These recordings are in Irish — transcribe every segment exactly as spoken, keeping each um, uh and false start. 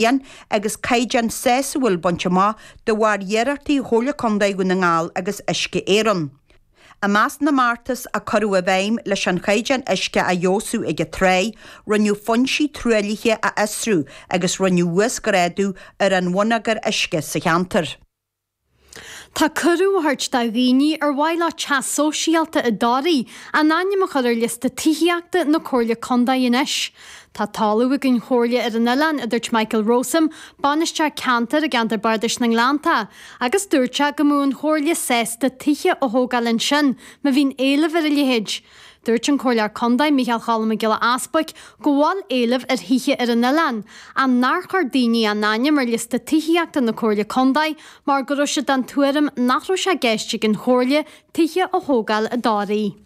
bliain agus caighdeán sásúil bainte amach de bharr iarrachtaí Chomhairle Contae Dhún na nGall agus Uisce Éireann. I measc na mbeartas a cuireadh i bhfeidhm leis an chaighdeán uisce a fheabhsú ag an tráigh, rinneadh foinsí truaillithe a fhiosrú agus rinneadh uasghrádú ar an bhonneagar uisce sa cheantar. Tá cuireadh á thabhairt do dhaoine ar mhaith leo teach sóisialta i dToraigh a n-ainm a chur ar liosta tithíochta na Comhairle Contae anois. Tá talamh ag an Chomhairle ar an oileán, a dúirt Michael Rowsome, bainisteoir ceantair i gceantar Bardais na nGleannta, agus dúirt sé go mbeadh an Chomhairle sásta tithe a thógáil ansin má bhíonn éileamh ar a leithéid. Dúirt an Comhairleoir Contae Micheál Cholm Mac Giolla Easbuic go bhfuil éileamh ar thithe ar an oileán, ach nár chuir daoine a n-ainm ar liosta tithíochta na Comhairle Contae mar go raibh siad den tuairim nach raibh sé i gceist ag an Chomhairle tithe a thógáil i dToraigh.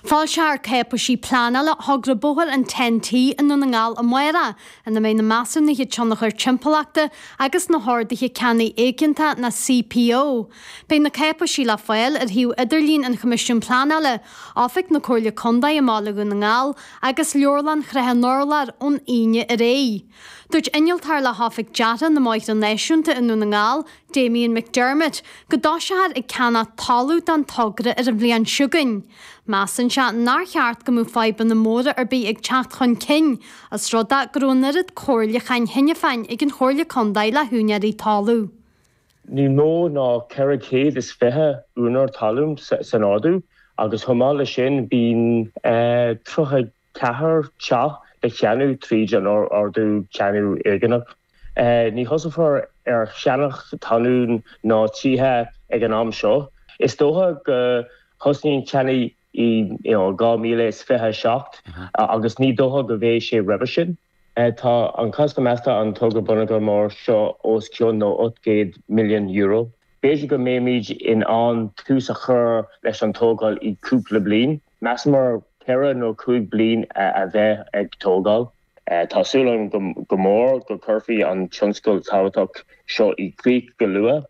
Foilseofar cáipéisí pleanála thogra bóthair an Ten T i nDún na nGall amárach, ina mbeidh na measúnuithe tionchair timpeallachta agus na horduithe ceannaigh éigeantacha nó C P O. Beidh na cáipéisí le fáil ar shuíomh idirlín an Choimisiúin Pleanála, Oifig na Comhairle Contae i mBaile Dhún na nGall agus Leabharlann Shrath an Urláir ón Aoine ar aghaidh. Dúirt innealtóir le hOifig Deartha na mBóithre Náisiúnta i nDún na nGall, Damien McDermott, go dtoiseofar ag ceannach talamh don togra ar an bhliain seo chugainn. Measann sé nár cheart go mbeadh fadhbanna móra ar bith ag teacht chun cinn, os rud é go raibh an oiread comhairliúcháin cheana féin ag an Chomhairle Contae le húinéirí talamh. Ní mó ná ceithre chéad is fiche úinéir talún san ordú agus chomh maith leis sin bíonn tríocha ceathair teach le ceannach tríd an ordú ceannach éigeantach. Ní thosófar ar cheannach talún ná tithe ag an am seo. Is dócha go thosnaíonn ceannach i dhá míle is fiche seacht agus ní dócha go bheidh sé roimhe sin. Tá an costas measta an togra bonneagar mór seo os cionn nó ocht gcéad milliún euro. B'fhéidir go mbeimid in ann tús a chur leis an tógáil i cúpla bliain. Measamar ceithre nó cúig bliain a bheith ag tógáil. Tá súil agam go mór go gcuirfí an tionscal tábhachtach seo i gcrích go luath.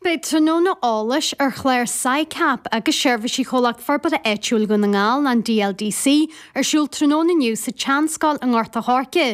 Beidh tráthnóna eolais ar chlár SICAP agus seirbhísí Chomhlacht Forbartha Áitiúil Dhún na nGall, an D L D C, ar siúl tráthnóna inniu sa tSeanscoil i nGort a' Choirce.